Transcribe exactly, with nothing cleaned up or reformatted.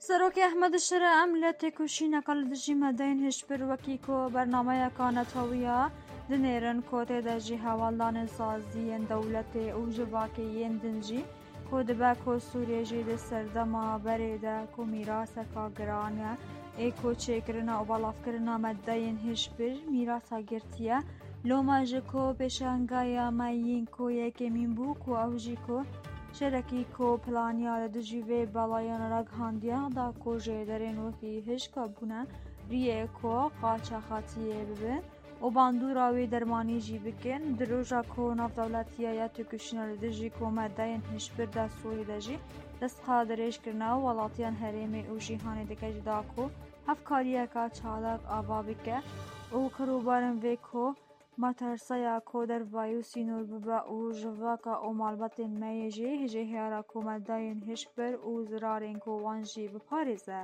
Serokê Ehmed Şire, em li têkoşîneka li dijî medeyên hişbir wekî ku bernameyeka netewî ya dinêrin ku tê de jî hevaldanên saziyên dewletê û civakê yên din jî ku dibe ku Sûriyê jî di serdema berê de ku mîraseka giran e, ê ku çêkirina û belavkirina medeyên hişbir mîrasa girtiye. Loma ji ku pêşangeya me yên ku yekemîn bû ku ew jî ku şerekî ku planiya li dijî vê belayan ragihandiye da ku jêderên wekî hişka bûne riyê ku qaça xatiyê bibin û bandora wê dermanî jî bikin. Di roja ku navdewletiya ya têkoşîna li dijî ku medeyên hişbir de Sûrî de jî destqa dirêj kirine û welatiyan herêmê û jîhanê dike jî da ku hevkariyeka çalak ava bike û qirûbarên vê ku materseya ku dervayî û sînor bibe û civaka û malbatên me yê jî hêjê heyara ku medeyên hişbir û zirarên ku wan jî biparêze.